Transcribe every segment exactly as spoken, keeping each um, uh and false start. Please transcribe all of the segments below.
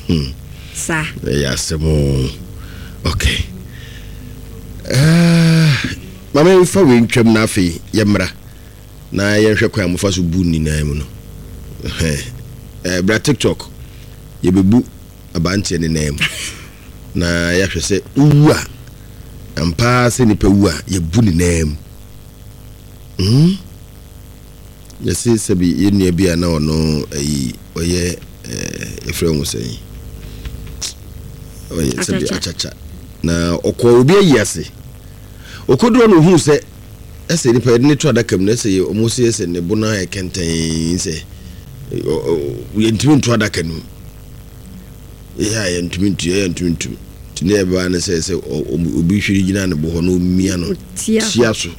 Hmm. Saa. Ɛyɛ asɛm o. Okay, uh, maame, mfa wei ntwam na afei yɛmmra na yɛnhwɛ kwan a mofa so bu nyinaa mu no. Eh, bra TikTok, yɛbɛbu abanteɛ ne nan mu na yɛahwɛ sɛ wowu a, ampaa sɛ nipa wu a, yɛbu ne nan mu mm? Yɛse sɛbi yɛn nua bi a na ɔno ayi ɔyɛ ɛɛ yɛfrɛ ho sɛn, ɔyɛ sɛbi akyakya na ɔkɔ obi ayi ase, ɔkɔduro no, ohuu sɛ ɛsɛ nipa yɛde ne to adaka mu na ɛsɛ ɔmo sɛ ɛsɛ ne bo no ayɛ kɛntɛn sɛ yɛntumi nto adaka no mu. Yɛ a yɛntumi ntu, yɛ yɛntumi ntum, nti ne yɛbɛba ne sɛ sɛ obi hwere gyina ne bo hɔ na omia no tia so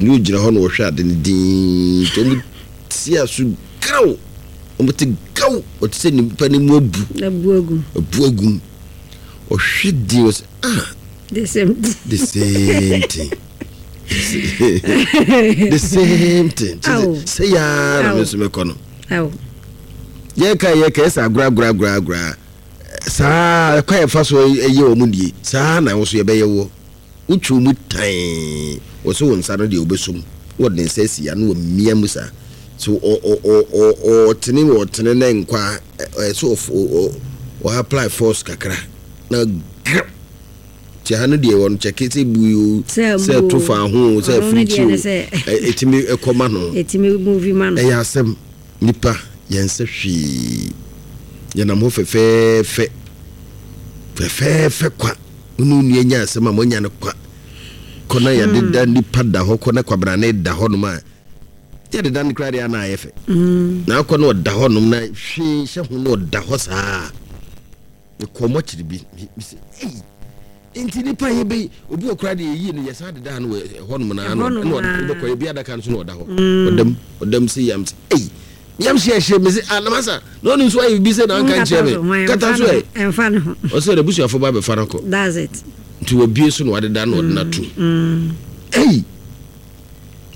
ne ogyina hɔ na ɔhwɛ ade no dinn, nti ɔmo tia so graw, ɔmo te gaw, ɔte sɛ nipa ne mu abu. Abu agum. Abu agum, ɔhwɛ din, ɔsɛ, "Ah." The same thing. The same thing, the same thing. Sɛ yaa na me nso mɛkɔ no, yɛka yɛka ɛsɛ agorɔ agorɔ agorɔ agorɔ saa ɛkwan yɛfa so ɛyɛ wɔn nie saa na wɔn so yɛbɛyɛ wɔ wotwi mu tan wɔ so, wɔn nsa no deɛ wɔbɛsom, wɔde ne nsa asi ano, wɔ mmea mu saa so, ɔ ɔ ɔ ɔ ɔtene ɔtene ne nkwa ɛ so ɔ ɔ ɔ apply force kakra na grɛ tí ha no deɛ wɔn kyɛkɛ sɛ bu yi o, sɛ ɛto fa ho, sɛ ɛfiri kyi o, ɛtumi ɛkɔma no. Ɛtumi move ma no. Ɛyɛ asɛm, nipa yɛn nsa hwee, yɛnam hɔ fɛfɛɛfɛ fɛfɛɛfɛ kwa, wone wo nua nya asɛm a moanya no kwa kɔ na yɛdeda nipa da hɔ kɔ na kwabrane da hɔ nom a yɛdeda no koraa deɛ ana ayɛ fɛ na akɔ na ɔda hɔ nom na hwee hyɛ ho na ɔda hɔ saa. Mekɔ mɔkyere bi mesɛ, "Ei, nti nipa yɛ bɛyi obi wɔ koraa deɛ yɛyie no, yɛsan deda no wɔ ɛhɔ nom na na wobɛkɔ yɛ bi adaka no so na ɔda hɔ, ɔdam ɔdam sɛ yam sɛ ei, yam hyɛ hyɛ me sɛ, "Ah, namasa na ɔno nso ayɛ biribi sɛ na anka nkyerɛ me kata so ɛ." Ɛmfa ne ho. Ɔsɛ n'abusuafo ba bɛfa no kɔ. That's it. Nti wabie so na wadeda na ɔde no ato. Ei,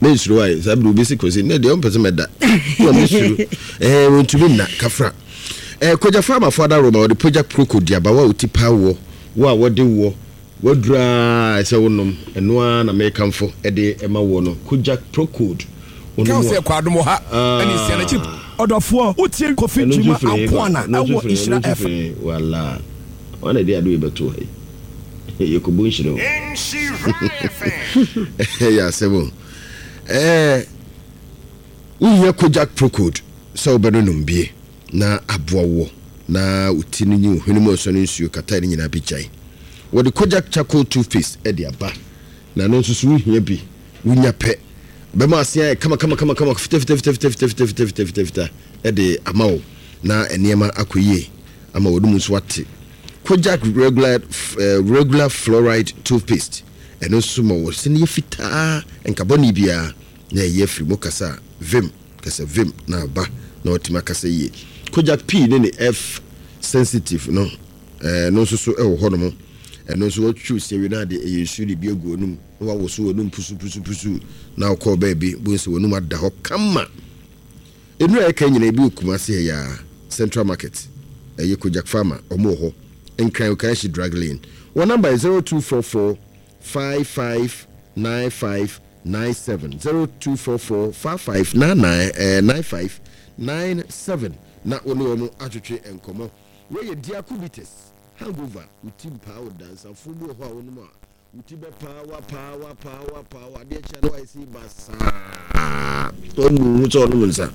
mensuro ayɛ saa bere obi si kɔsi ne deɛ ɔmpɛ sɛ mɛda na mesuro ɛɛ wɔntumi nna kafra. Ɛɛ Kogya Farmafo adaroma, wɔde Pogya Proko duabawa a ɔti paa wɔ wo a wɔde wɔ wadura sɛ wonom ɛno ara na mekamfo ɛde ɛma wɔ no, Kogya Procode. Kaw sɛ kɔ adom wɔ ha ɛne nsia n'akyi. Ɔdɔfoɔ, wotie Kofi Gyima Ankoana ɛwɔ Nhyira F M. Wala wana de ade bɛto ha yi, yɛkɔbɔ nhyira o, ɛyɛ asɛm o. Ɛɛ wohia Kojak Procode sɛ wobɛnonom bie na aboa wɔ na wo ti no nyi wo hwene mu ɔsɔ no nsuo kata ne nyinaa bɛgyae. Wɔde Kojak Charcoal toothpaste ɛde aba na no nso so wohia bi, wonya pɛ bɛma ase ayɛ kama kama kama kama, fita fita fita fita fita fita fita fita fita fita ɛde ama wo na nneɛma akɔ yie ama wɔde mu nso ate. Kojak regular uh, regular fluoride toothpaste, ɛno nso ma wɔ sɛ no yɛ fitaa, nkabɔne biara na ɛyɛ afiri mu. Kasa vim, kasa vim na aba na watumi akasa yie. Kojak P ne ne F Sensitive no, ɛɛ no nso so ɛwɔ hɔnom. Ɛno nso wɔtwiw sɛwi no ade, ɛyɛ nsuo de bi agu onum na wawoso wɔnum pusupusupusu na wokɔɔ baabi bo sɛ wɔnum ada hɔ kama. Nnura yɛka nyina ebi wɔ Kumase ha yaa, Central Market, ɛyɛ Kojak Farmer, ɔmo wɔ hɔ. Nkran, Okaishie Drug Lane. Wɔn number yɛ zero two four four five five nine five nine seven, zero two four four five five nine nine ɛɛ nine five nine seven na wɔne wɔn atwetwe nkɔmɔ. Wɔyɛ Diako Bitters hangover, wuti mpaa wo dansafo bi wɔ hɔ a wɔnom a wuti bɛ paa wa paa wa paa wa paa wa, adeɛ kyɛ no ayɛ sɛ basaa, ɔnu hu sɛ ɔnom nsa.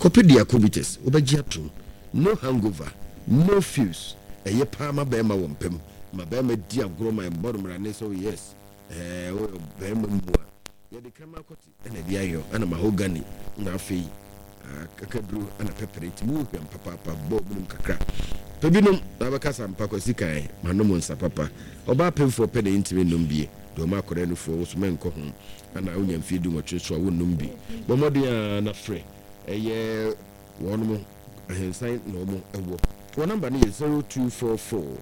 Kɔpɛ Diako Bitters, wobɛgye atom. No hangover, no fuse. Ɛyɛ paa ma bɛrima wɔ mpam, ma bɛrima di agorɔ, ma ɛmbɔ no mmara ne sɛ, oh yes, ɛɛ woyɛ bɛrima mu a yɛde krama akɔte ɛna ɛde ayɔ ɛna mahogany na afei akakaduro ɛna pɛpɛrɛ, nti mu hwam papaapa. Bɔɔ binom kakra pɛ binom na bɛkasa mpa kwasi kan manom nsa papa. Ɔbaa pemfoɔ pɛ na ɛntumi nnom bie deɛ, ɔma akɔda nufoɔ wo so mɛnkɔ ho ana wonya mfie du nwɔtwe so a wonnom bi. Bɔ mmɔden a na frɛ ɛyɛ wɔnom ahensan na ɔmo ɛwɔ. Wɔn number no yɛ zero two four four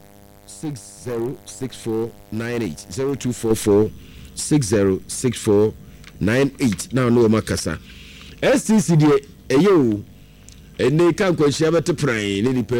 six zero six four nine eight, zero two four four six zero six four nine eight na ɔne wɔn akasa. S T C deɛ ɛyɛ o, ɛnɛ ka nkwanhyia bɛte pran ne nipa.